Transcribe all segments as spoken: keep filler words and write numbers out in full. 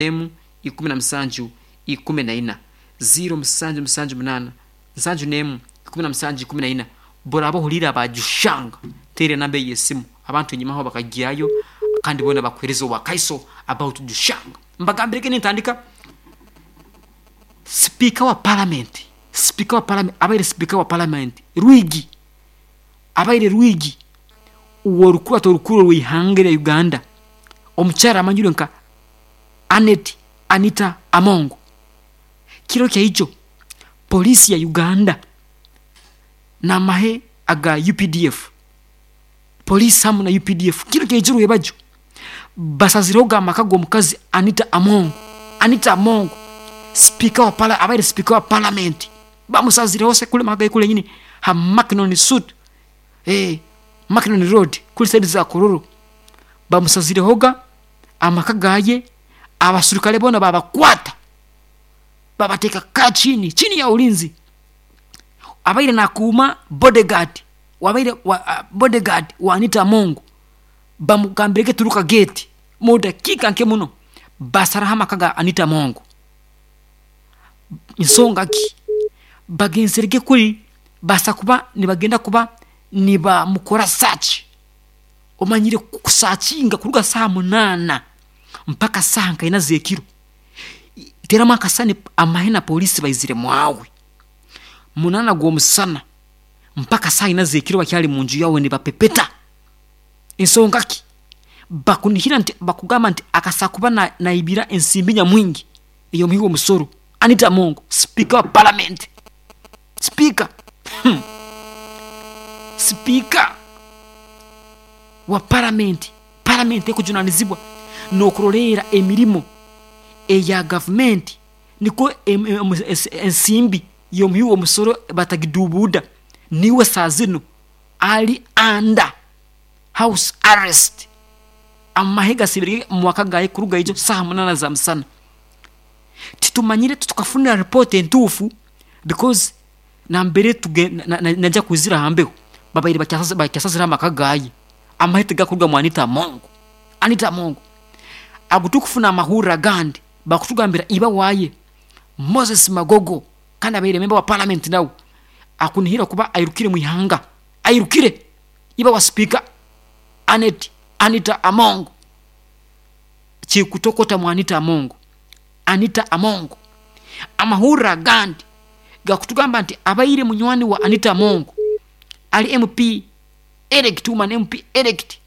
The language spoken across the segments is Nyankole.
Emu ikumi na musanju ikumi na ina ziro musanju musanju munana nsanju nemu ikumi na musanju ikumi na ina. Boraba ohuriire abajushanga, teera enamba eyo esimu, abantu enyimaho bakagyayo kandi boona bakuheereza obwakaiso about Jushanga. Mbagambirege nintandika, sipiika wa parliament, sipiika wa parliament, abaire sipiika wa parliament Rwigi, abaire Rwigi w'orukubato orukuru orw'eihanga erya Uganda, omukyara amanyirwe nka Annet Anita Among. Kiro kyaijo poliisi ya Uganda n'amahe aga U P D F, poliisi hamu na U P D F, kiro kyaijo rwebagyo basazireho amaka g'omukazi Anita Among. Anita Among, sipiika wa pala, abaire sipiika wa parliament, bamusazireho se kuli maka ge kuli nyini ha Mackinnon Suit, eh, Mackinnon Road, kuli side za Kololo. Bamusazirehoga amaka gaye, abaserukale boona babakwata, babateeka ka chini chini ya ulinzi. Abaire nakuuma bodyguard wabaire wa, uh, bodyguard wa Anita Among bamugambirege turuka gate, mu dakiika nke muno basaraho amaka ga Anita Among. Nsonga ki? Bagenzerege kuri basa kuba nibagenda kuba nibamukora search. Omanyire kusakinga kuruga saaha munaana mpaka saaha nkaina z'ekiro, teramu akasani, amahe na polisi baizire mwawe munaana gw'omusana mpaka saaha ina z'ekiro bakyali munju yawe nibapepeta. Ensonga ki? Bakunihira nti bakugamba nti akasa kuba na, naibira ensimbi nyamwingi ey'omuhi w'omusoro. Anita Among, speaker wa parliament, speaker, hmm. speaker wa parliament, parliament ekujunanizibwa n'okuroleera emirimo eya gavumenti nikwo em- em- ens- ensimbi y'omuhi w'omusoro batagidubuuda. Niwe saa zinu ali under house arrest. Amahe gasibire mu maka gaye kuruga ijo saaha munaana za musana. Titumanyire, tukafunira report entuufu because nambere tuge na- na- najya kwizira hambeho babaire bakyasaz- bakyasazire amaka gaye, amahe tigakuruga mu Anita Among. Anita Among ago tukufuna amahurire agandi bakutugambira iba waaye Moses Magogo, kandi abaire member wa parliament, nawe akunihira kuba airukire mu ihanga, airukire. Iba wa speaker Anet Anita Among, kikutokota mu Anita Among. Anita Among, amahurire agandi gakutugamba nti abaire munywani wa Anita Among ali M P elect, woman M P elect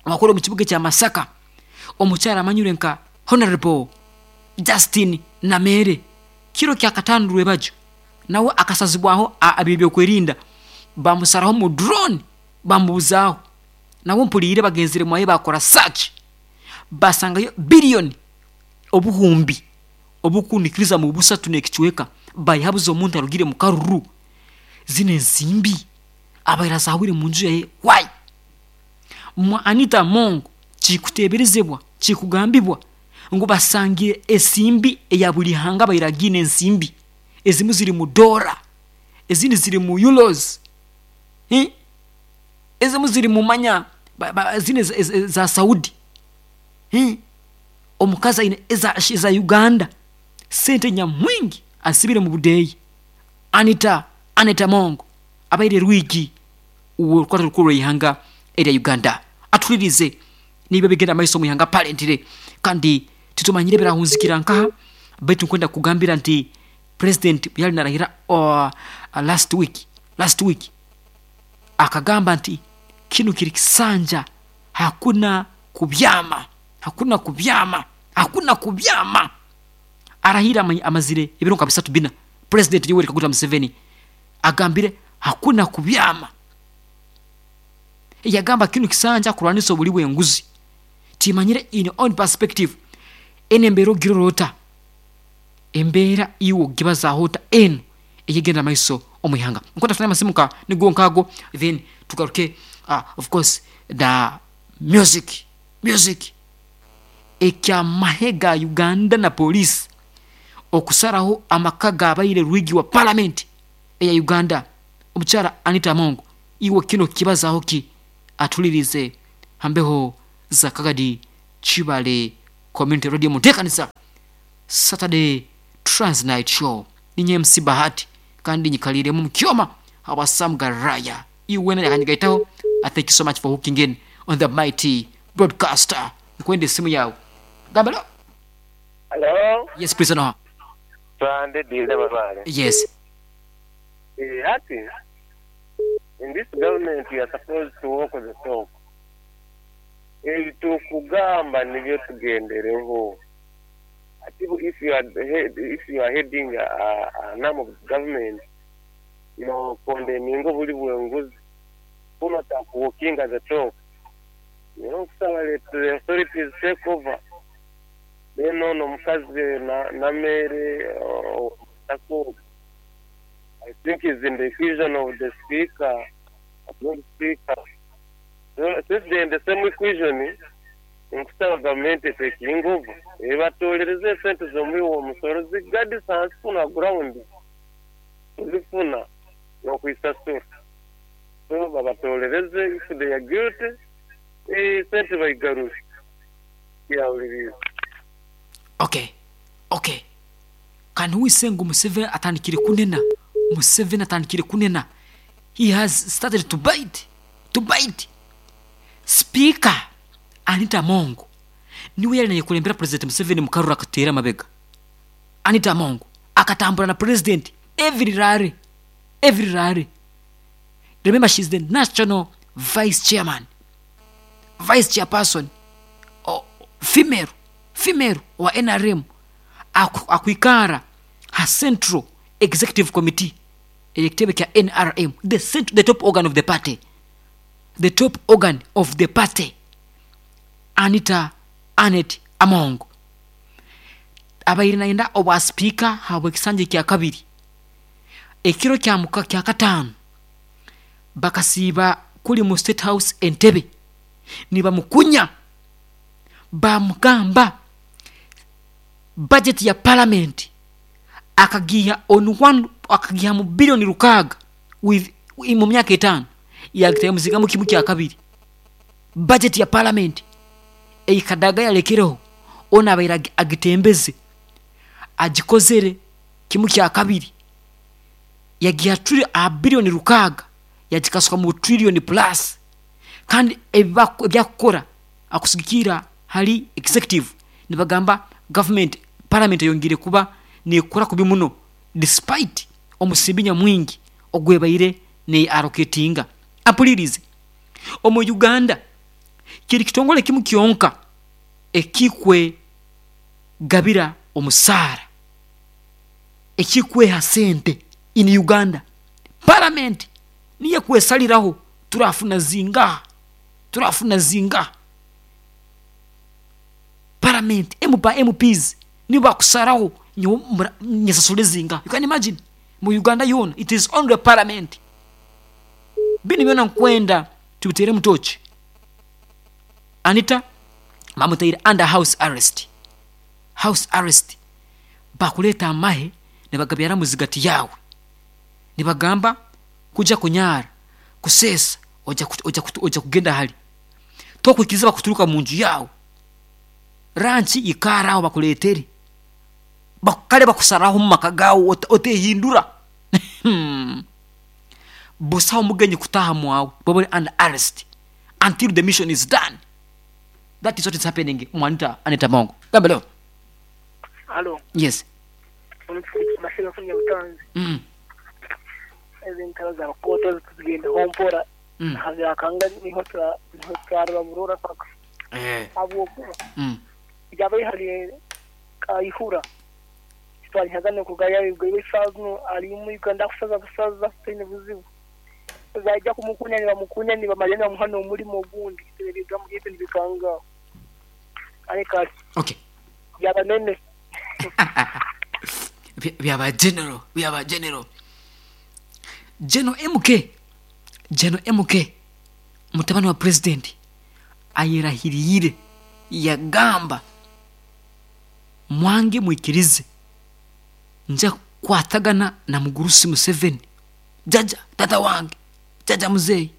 wakora omu kibuga kya Masaka, omukyara amanyirwe nka Honorable Justin Namere, kiro kyakataano rwebagyo nawe akasazibwaho ebyokwerinda, bamusaraho mu drone, bamubuzaaho. Nawe mpuliire bagenzire mwaye bakora search, basangayo biliyoni obuhumbi obukunikiriza mu busatu n'ekicweka bayihabuza omuntu arugire mu karuru. Zino ensimbi abaire azahwire mu nju yaye why? Mwa Anita Among kikuteeberezebwa, kikugambibwa ngu basangire ensimbi eya buli hanga baire agiine. Ensimbi ezimu ziri mu dola, ezindi ziri mu euros, eh? Ezimu ziri mu manya ba- ba- zine za- za- za Saudi, eh? Omukazi aine eza, eza Uganda, sente nyamwingi asibire mu budeeyi. Anita Anita Among abaire Rwigi orukwata rukuru rw'eihanga erya Uganda atulirize niba bigenda maiso mu ihanga parentire, kandi titumanyire birahunzikira nkaha. Baitu nkwenda kugambira nti president yali narahira uh, last week last week akagamba nti kinu kiri kisanja, hakuna kubyama, hakuna kubyama, hakuna kubyama. Arahira ama- amazire ebiro nka bisatu bina, President Yoweri Kaguta Museveni agambire hakuna kubyama. Yagamba kinu kisanja kurwanisa obuli bw'enguzi. Timanyire in your own perspective eno embeera ogirora, embeera iwe ogibazaaho ota eno eyegenda maiso omu ihanga? Nkwenda tufune amasimu ka nigo nkaago, then tugaruke, uh, of course the music music Ekyamahe ga Uganda na poliisi okusaraho amaka gabaire rwigi wa parliament eya Uganda, omukyara Anita Among, iwe kino kibazaaho ki? Atulirize hambeho za kagadi kibale. Community Radio munteekanisa Saturday Transnight Show. Ninye M C Bahati kandi nyikaliiremu mu kyoma habwa Sam Garaya. Iwe nayakanyigaitaho. I thank you so much for hooking in on the mighty broadcaster. Nkwende simu yawe. Gamba lo. Hello? Yes, please no. Sunday Dile Babale. Yes. Eh, Ati, in this government you are supposed to walk the talk. Ebitukugamba nibyo tugendereho. Ati if you are head, if you are heading a, a, an arm of government, no condemning buli bwenguzi. Kuno takuwalking the talk. You know, kusaba let the authorities take over. Then ono mukazi na, na mere uh, tako I think is in the equation of the speaker, not speaker. So, since they're in the same equation, nkusaba government taking over. Ebatolereze esente z'omuwi w'omusoro zigadisa hansi kuna ground. Zifuna n'okwisasura. So babatolereze if they are guilty, eh, sente bayigarure. Yawuliriza. Okay. Okay. Kandi wise ngu Museveni atandikire kunena. Museveni atandikire kunena. He has started to bite. To bite. Speaker Anita Among niwe yali nayekulembera President Museveni mukarura akateera amabega. Anita Among akatambura na President every rally. Every rally. Remember, she's the national vice chairman, vice chairperson, oh, female, female wa N R M aku, akuikara ha Central Executive Committee ekitebe kya N R M, the cent-, the top organ of the party, the top organ of the party. Anita Annet Among abaire naenda obwa speaker habwe kisanje kya kabiri ekiro kya muka kya katano bakasiba kuli mu State House Entebbe nibamukunya bamugamba budget ya parliament akagiha on one, akagiha mu billion rukaga with mu myaka etano yagitaye muziga mu kimu kya kabiri. Budget ya parliament eikadaga yalekereho ona abaire agitembeze agikozere kimu kya kabiri yagiha turi a billion rukaga yagikasuka mu trillion plus. Kandi ebyakukora akusigikira hali executive nibagamba government parliament yongere kuba nekora kubi muno despite omusimbinya mwingi ogwebaire ne allocatinga. Apulirize omu Uganda kiri kitongole kimu kyonka ekikwe gabira omusara ekikwe hasente in Uganda. Parliament niye kwesaliraho turafuna zinga turafuna zinga. Parliament M P, M Ps niba kusaraho nyesasule zinga. You can imagine mu Uganda yona it is only parliament. Bini byona nkwenda tubitere mutochi. Anita mamutaire under house arrest. House arrest bakuleta amahe ne bagabyara muzigati yawe nibagamba kuja kunyara kusesa oja oja oja kugenda hali tokwikiza bakuturuka mu nju yawe ranchi ikaraho bakuletere bakale bakusaraho mu makagawo otehindura busa omugenyi kutaha mwawe bobole under arrest until the mission is done. That is what is happening Mwanita Anita Among. Gambelo. Hello. Yes. Mm. Ezintalo za koto tugende hompora. Mm. Hazakanga niho tra niho trarwa murora paka. Eh. Abo. Mm. Jabe hali kaihura. Twali hazane kugaya ibwe sazno ali mu Uganda kusaza kusaza tine buzibu. Zaija kumukunya ni bamukunya ni bamalena muhano omulimo ogundi tebiga mu ibintu bikanga. Areka. Okay. Yaba nene. Byaba general, byaba general. General M K. General M K. Mutabani wa president ayerahirire yagamba mwange mwikirize nja kwatagana na mugurusi Museveni jaja tata wange jaja muzei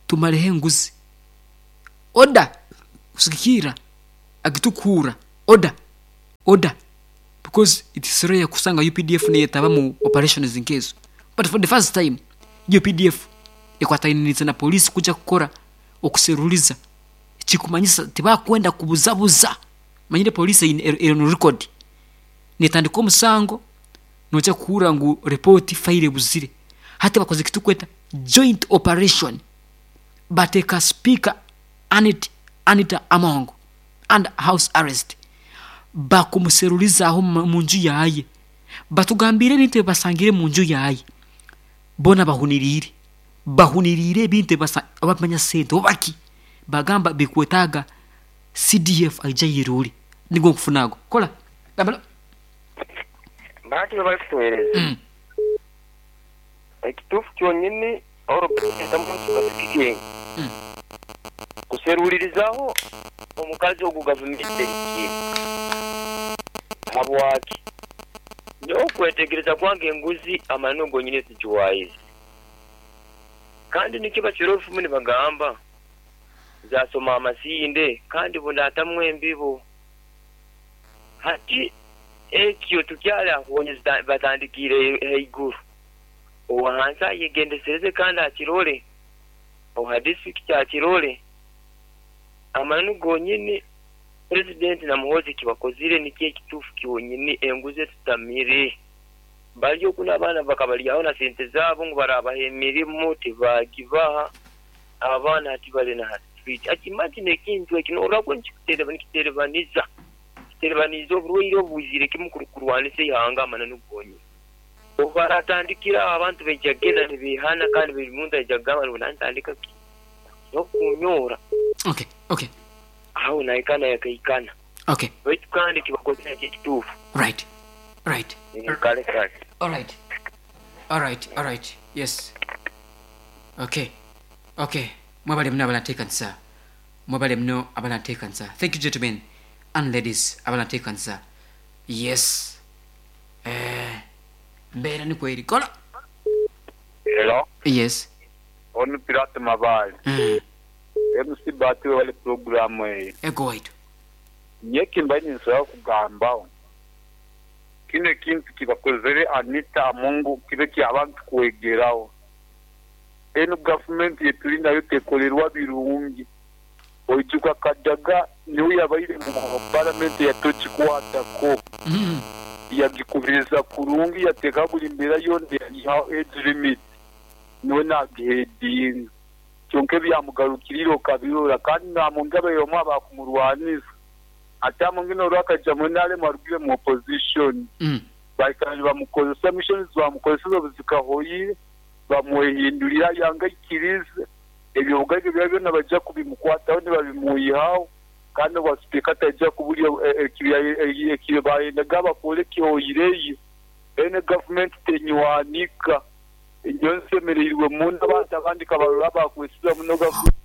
tumalehe nguzi oda kusikira Agitukuura order order because it is rare kusanga U P D F neyetaba mu operations nkezo, but for the first time U P D F ekwatainiriza na polisi kuja kukora okuseruliza kikumanyisa tibakwenda kubuzabuza. Manyire polisi eri no record netandika omusango noja kuhura ngu report file buzire. Hati bakoze kitukweta joint operation, bateka speaker Anit, Anita Among and house arrest, bakumuserulizaho munju yaye, batugambire ebintu ebasangire munju yaye, bona bahunirire bahunirire ebintu ebamanya sente obaki bagamba bikwetaga C D F aija yiruri nigo nkufunago kola gambalo baki bari kutuhereza mm. Ekitufu kyonyini oro tamu mm. Kuserulirizaho omukazi ogu gavumenti erikire habwaki nyo kwetegereza kwange enguzi amano gonyine tujuwaize kandi nikiba kirofu muni bagamba zasoma amasinde kandi bundatamwe embibo hati ekyo tukyala ahonyeza batandikire heiguru owahansa yegendesereze kandi akirole oha district akirole amanu gonyini president na Muhoozi kibakozire niki ekitufu kyonyini enguze tutamire bali okuna abaana bakabalyaho na sente zabo ngu barabaha emirimu tibagibaha abaana ati bali na street akimagine ekintu ekino orako nikiterebaniza kiterebaniza oburwaire obuzire kimu kurwanisa ihanga amananu gonyini obaratandikira abantu bejagenda nibihana kandi buli muntu ajagamba ngu nantandika nokunyora. Okay, okay. Aho naikana yakaikana. Okay. Baitu kandi kibakozera ekitufu. Right. Right. Kale kale. All right. All right, all right. Yes. Okay. Okay. Mwabale mno abanatekanisa. Mwabale mno abanatekanisa. Thank you gentlemen and ladies abanatekanisa. Yes. Eh mbera ni kweli. Kola. Hello. Yes. Onu Pirate Mabali. Mm. M C Bati wale programu eyi. Ego waitu. Nyeki mbanyi nsoya kugambaho. Kino ekintu kibakozere Anita Amongo kibe kyabantu kwegeraho. Eno gavumenti yetuli nayo tekolerwa birungi. Oijuka Kadaga niwe yabaire mu parliament yatokikwatako. Mm. Yagikubiriza kurungi yateka buli mbeera yonna yayihaho age limit. Niwe nagihedinga. Kyonka ebyamugarukirire okabirora kandi namunga abayomu abakumurwanisa. Ate amungi norwakaija mwena arugire mu opposition. Mm. Baikara bamukozesa missions bamukozesa obuzikahoyire bamwehindurira yanga ikirize ebyo bugaiga bya byona bajja kubimukwataho ne babimuyihaho kandi basipika tajja kubulya ekibya bayendaga bakole kihoyireyo. Ene government tenywanika enyo nsemereirwe munda abantu abandi kabarora bakwesiza muno government.